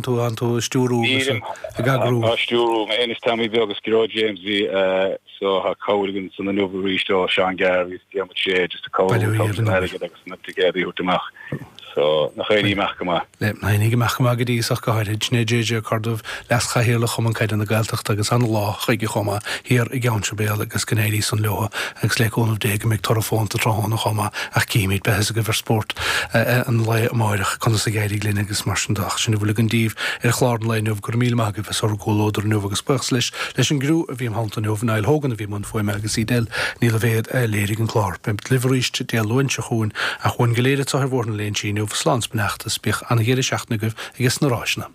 Tú an tú ag stiúrú agus ag eagrú. Á stiúrú mé féin is Tommy Beag is Gearóid James bhí so tá cabhair againn san inniu arís ó Seán Garvey is Diarmuid Shea just ag cabhrú ag tabhairt an airgid agus na ticéadaí a thabhairt amach so nach éirí amach go maith. Le nach éirí amach go maith go dtí ach go háirithe. Sin é JJ Ó Corrduibh, Leas-Chathaoirleach Chumann Caide na Gaeltachta agus ana-lá chuige chomh maith thiar i gCeann Sibéal agus go n-éirí san leo agus le cúnamh Dé go mbeidh toradh fónta tráthnóna chomh maith ach cífimid, beidh a fhios agaibh ar Spórt an lae amáireach conas a d'éirigh linn agus mar sin de. Ach sin a bhfuil againn daoibh ar chlár an lae inniu. Go raibh míle maith agaibh as bhur gcomhluadar inniu agus buíochas leis leis an gcriú a bhí im theannta inniu, Niall Hogan a bhí i mbun fuaime agus Edel Ní Loibhéad a léirigh an clár. Beimid libh arís Dé Luain seo chugainn ach uainn go léir anseo ar Bhóthar na Léinsí inniu, slán 's beannacht is bíodh ana-dheireadh seachtaine agaibh ages na ráiseanna.